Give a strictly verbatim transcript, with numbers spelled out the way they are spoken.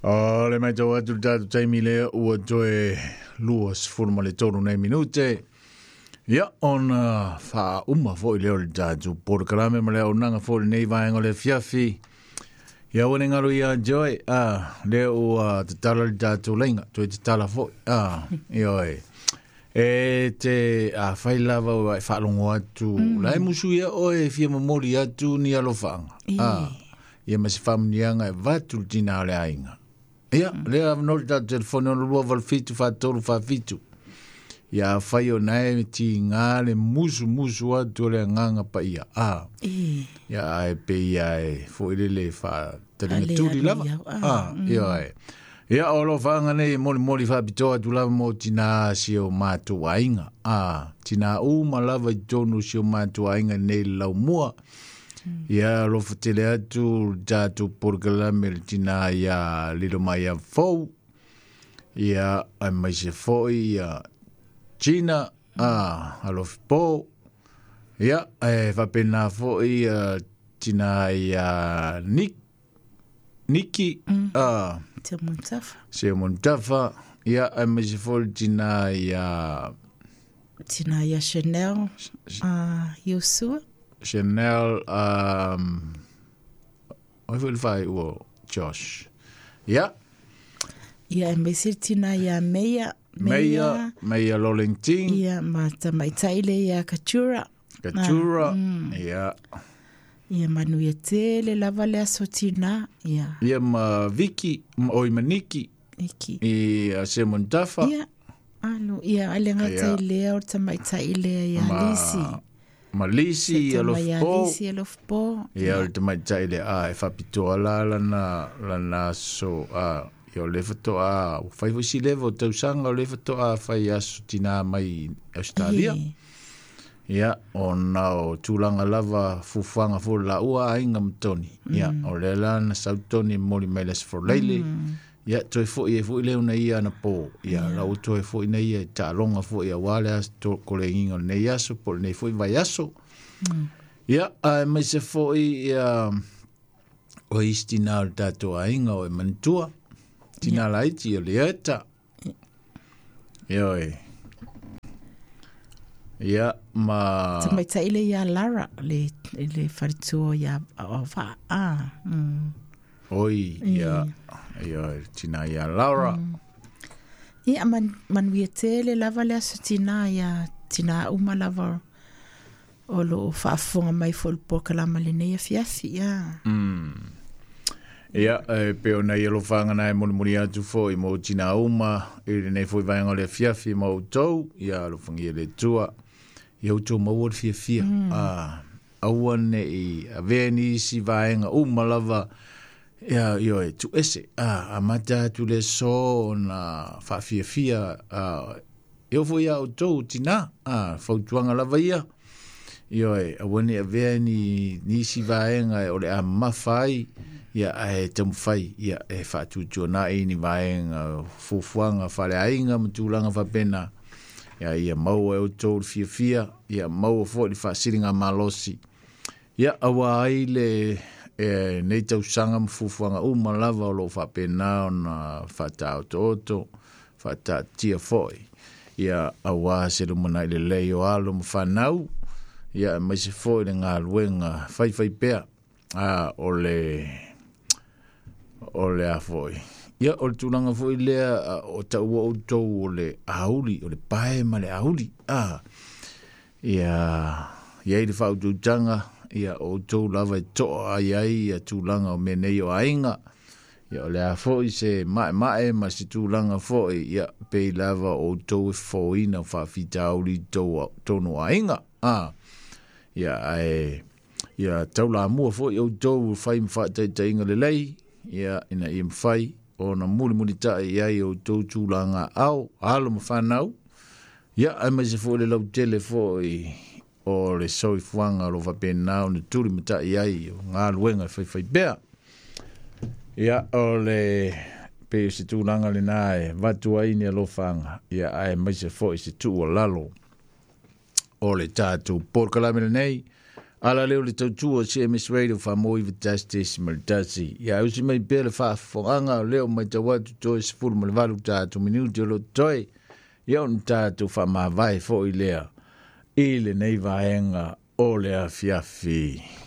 O le mai tau atu le tātou taimi lea ua toe lua sefulu ma le tolu nei minute. Ia, ona faauma foi lea o le tātou polokalame ma le auaunaga foi i lenei vaega o le afiafi. Ia ua ne galo ia Joy, ah, lea ua tatala le tātou laina, toe tatala foi. Ah, ioe. E te afai lava ua e faalogo atu, mm. la e musu ia oe e fia momoli atu ni alofaaga. Ah, ia ma se faamuniaga e vatu le tinā o le aiga. Ia, mm. lea avanoa le tatou telefone ono lua valu fitu faatolu faafitu. Ia afai o nae tigā le musumusu atu o le agaga paia. Ah. Ia ae pei ia e fo'i lele faataliga tuli lava. Ah, ioe. Ia o alofaaga nei e molimoli faapitoa atu lava mo tinā si o matou aiga. Ah, tinā uma lava i totonu o si o matou aiga nei le laumua. Ia alofa tele atu le tatou polokalame le tinā ia lilo mai ia fou. Ia aemaise foi ia Gina, ah, alofi po. Ia, e faapena foi ia tinā ia Nick, Niki, mm. ah, Te Montafa. Se Montafa. Ia, aemaise foi le tinā ia Tina ia Chanel, uh, Yosua. Chanel, um, oi foi le faaiua Josh. Ia. Ia, aemaise le tina ia Meia. Meia, Meia Lolenting. Ia, ma tamaitai le ia Katura. Katura, mm. Ia. Ia manuia tele lava le aso tina, ia. Ia ma Vicky, oi ma Niki. Niki. I se Montafa. Ia, alo, ia, ale ngata i lea o tamaitai lea ia Lisi. Ma Lisi, alofo. Lisi, alofo. Ia, o le tamaitai lea, ah, e faapitoa la lana, lana aso, ah, ia o le fatoa, fai foi si leva o tausaga o le fatoa fai aso tinā mai Australia. Ia, ona o tulaga lava fuafuaga foi laua aiga ma Toni. Ia, o lea la na sau Toni e momoli mai le aso Faraile. Ia, toe foi e foi lea ona ia anapo. Ia, la ua toe foi na ia e taaloga foi auā le aso kolegiga o lenei aso po o lenei foi vaiaso. Ia, aemaise foi ia o isi tinā o le tatou aiga o e manatua. Tina laiti o le eta. Ioe. Ia, ma Tamaitai le ia Lara, le, le faletua ia o va. Ah, mm. Oi, ia, ia, tina ia Lara. Mm. Ia, man, manuia tele lava le aso tina ia, tina uma lava o lo faafofoga mai foi le polokalame lenei afiafi, ia. Mm. Ia, e pei ona i alofaga na e molimoli atu foi mo tinā uma i lenei foi vaega o le afiafi ma outou, ia alofagia le Atua. Ia outou maua le fiafia. Mm. Ah, aua nei avea nisi vaega uma lava ia ioe tuuese. Ah, amata atu le aso ona faafiafia ah, e oo foi iā outou tinā. Ah, fautuaga lava ia. Ioe, aua nei avea ni nisi vaega o le a mamafa ai. Ia, ae taumafai, ia, e faatuatuanai ni vaega fuafuaga faaleaiga ma tulaga faapena. Ia, ia maua e outou le fiafia, ia maua foi le faasiliga malosi. Ia, auā ai le e, nei tausaga ma fuafuaga uma lava o loo faapena ona faataotooto, faataatia foi. Ia, auā se lumanai lelei o alo ma fanau, ia, aemaise foi le galuega faifai pea, ah, o le o le a foi. Ia, o le tulaga foi lea o taua outou o le auli, o le pae ma le auli. Ah, ia, ia i le faautautaga, ia o outou lava e toa ai ai ia tulaga o mea nei o aiga. Ia, o le a foi se maemae ma se tulaga foi, ia, pei lava o outou e fofoina o faafitauli i totonu o aiga. Ah, ia, ae, ia taulamua foi outou fai ma faataitaiga lelei, ia, ina ia mafai ona mulimulitai i ai outou tulaga ao, alo ma fanau. Ia, aemaise foi le lautele foi o le soifuaga o lo faapena ona tulimatai ai o galuega e faifai pea. Ia, o le pei o se tulaga lenā e avatu ai ni alofaga, ia, aemaise foi se tuualalo o le tatou polokalame lenei. Ala leo le tautua C M S Radio wha i tasi tesi ma le tasi. Ia usi mai pea le faafofogaga o leo mai tau atu toe sefulu ma le valu tatou minuti o lo toe. Ia ona tatou faamavae foi lea i lenei vaega o le afiafi.